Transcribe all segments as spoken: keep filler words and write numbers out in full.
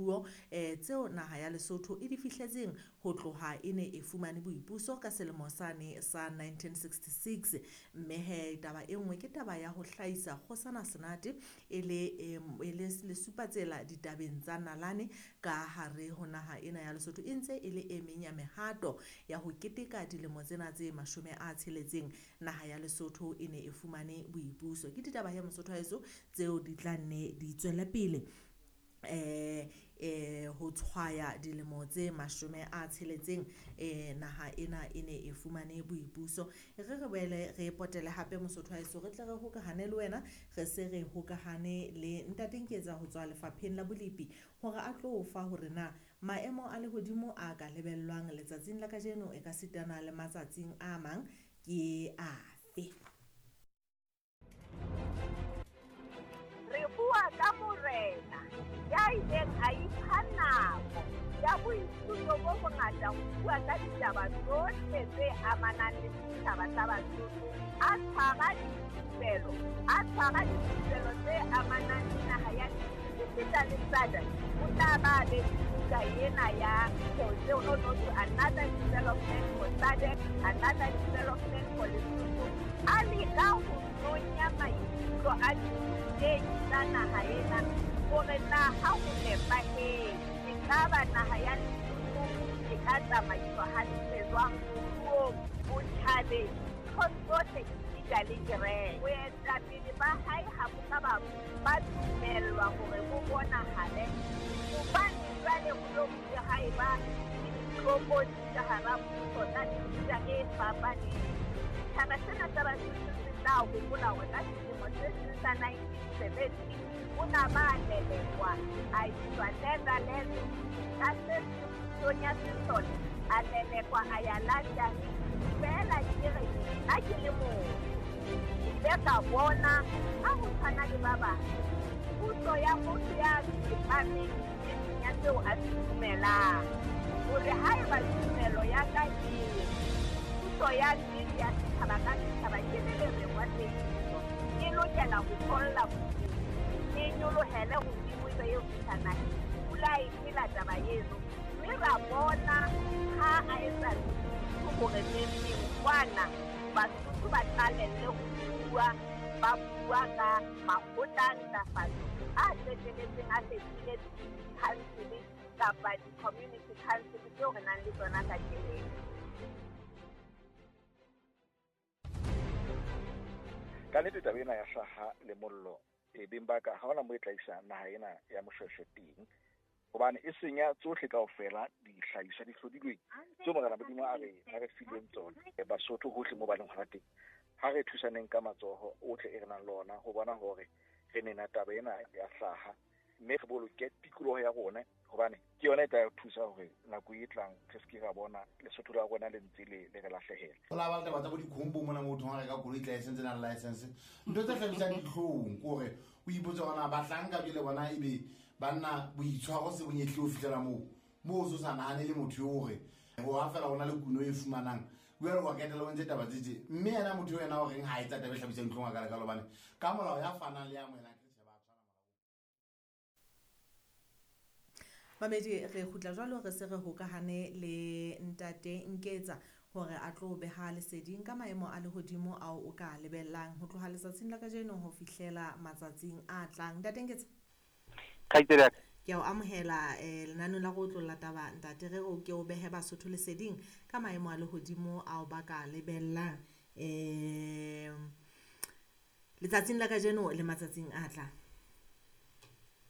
moruo eh tseo naha ya Lesotho e di fihletseng ho tloha e ne e fumane boipuso ka selemo sane sa nineteen sixty-six. Mme he taba e nngwe ke taba ya ho hlahisa Kgosana Senate e le e le lesupatsela ditabeng tsa nalane ka hare ho naha ena ya Lesotho e ntse e le e meng ya mehato ya ho keteka dilemo tsena tse mashome a tsheletseng naha ya Lesotho e ne e fumane boipuso. Ke ditaba he Mosotho wa heso tseo di tla nne di tswele pele eh eh ho tshwaya dilemo tse mashome a tsheletseng eh naha ena e ne e fumane boipuso. Re re boele re potele hape Mosotho wa heso, re tle re hokahane le wena, re se re hokahane le Ntate Nketsa ho tswa lefapheng la bolepi hore a tlo fa hore na maemo a lehodimo a ka lebellwang letsatsing la kajeno e ka sitana le matsatsing a mang ke afe. Re bua ka morena ya ileng a ipha nako ya boithuto bo bongata ho bua ka ditaba tsohle tse amanang le setjhaba sa Basotho, a tshwara dithupelo, a tshwara dithupelo tse amanang le naha ya esita le S A D C. O tla ba be buka ena ya tseo no no to another development for S A D C, another development for Lesotho. A leka ho nonya maikutlo a dithutehi tsa naha ena hore na ha ho nepahetse ekaba naha ya Lesotho e ka tsamaiswa hantle jwang moruong, botjhabeng, nthong tsohle esita le kereke. Boetapele ba hae ha bo ka ba ba dumellwa hore bo bonahale hobane jwale ho lo bile ha eba le ditlokotsi ka hara puso tsa mefuta e fapaneng. Setjhaba sena sa Basotho se tla hopola hore ka selemo se seng sa nineteen seventy o na ba lelekwa a iswa Netherlands ka se seng pusong ya sesole, a lelekwa a ya London. Feela ke re nna ke le motho ke ile ka bona ha ho tshwana le ba bang puso ya motho ya tsepameng e seng ya seo a se dumelang, hore haeba tumelo ya ka ke puso ya nnete ya setjhaba ka setjhaba ke le lereng wa teiso, e lokela ho tholla bodimo, e nyolohele hodimo ebe eo fihla naheng. Pula e phela taba eno, mme ra bona ha a etsa hore neng kwana Basotho ba qalelle ho bua, ba bua ka makgotla a ntlafatso a qetelletseng a fetohile di-council kapa di-community council tseo re nang le tsona kajeno. Ka nnete taba ena ya hlaha le mollo e beng ba ka ha hona moo e tla isa naha ena ya Moshweshwe teng, hobane e senya tsohle kaofela dihlahiswa di hlodilweng tseo Morena Modimo a re a re fileng tsona. Basotho hohle moo ba leng hona teng, ha re thusaneng ka matsoho ohle e re nang le ona ho bona hore re nena taba ena ya hlaha, mme re boloke tikoloho ya rona, hobane ke yona e tla re thusa hore nako e tlang re se ke ra bona Lesotho la rona le ntse le le re lahlehela. Ho la ba le taba tsa bo dikhombo mona moo thong ha reka koloi license na license, ntho tse hlabisang dihlong ke hore o ipotse hore na bahlanka jwale bona ebe banna boitshwaro se bonyehle ho fihlela moo moo o so sa nahane le motho eo hore ho ha fela hona le kuno e fumanang jwale wa ketela o ntse taba tse tje, mme yena motho ena o reng ha etsa taba e hlabisang dihlong a kalekalo hobane ka molao ya fanang le ya amohelang. Mamedi, re kgutla jwalo re se re hokahane le Ntate Nketsa hore a tlo beha leseding ka maemo a lehodimo ao o ka lebellang ho tloha letsatsing la kajeno ho fihlela matsatsing a tlang. Ntate Nketsa, Kgaitsedi ya ka. Ke a o amohela eh lenaneo la go otlolla taba ntate, re o ke o behe Basotho leseding ka maemo a lehodimo ao ba ka lebellang eh letsatsing la kajeno le matsatsing a tlang.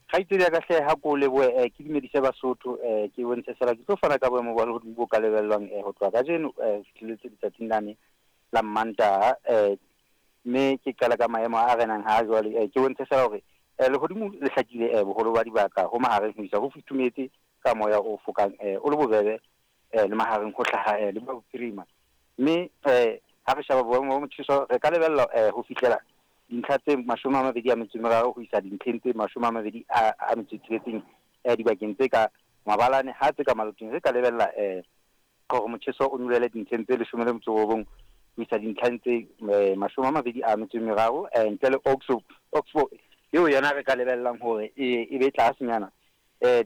Kgaitsedi ya ka hle ha ko lebohe eh ke dumedise Basotho eh ke bontshe fela ke tlo fana ka boemo ba lehodimo bo ka lebellwang eh ho tloha kajeno eh fihlelletse letsatsing lane la Mantaha eh mme ke qala ka maemo a renang ha jwale eh ke bontshe fela hore eh lehodimo le hlakile eh boholo ba dibaka ho mahareng ho isa ho futhumetse ka moya o fokang eh o le bobebe eh le mahareng ho hlaha eh le bophirima, mme eh ha re sheba boemo ba motjheso re ka lebella eh ho fihlela dintlha tse mashome a mabedi a metso e meraro ho isa dintlheng tse mashome a mabedi a a metso e tsheletseng eh dibakeng tse ka mabalane ha tse ka maloteng re ka lebella eh hore motjheso o nyolohele dintlheng tse leshome le metso e robong ho isa dintlheng tse mashome a mabedi a metso e meraro eh ntle le Oxford Oxford eo yona re ka lebellang hore e e be tlasenyana eh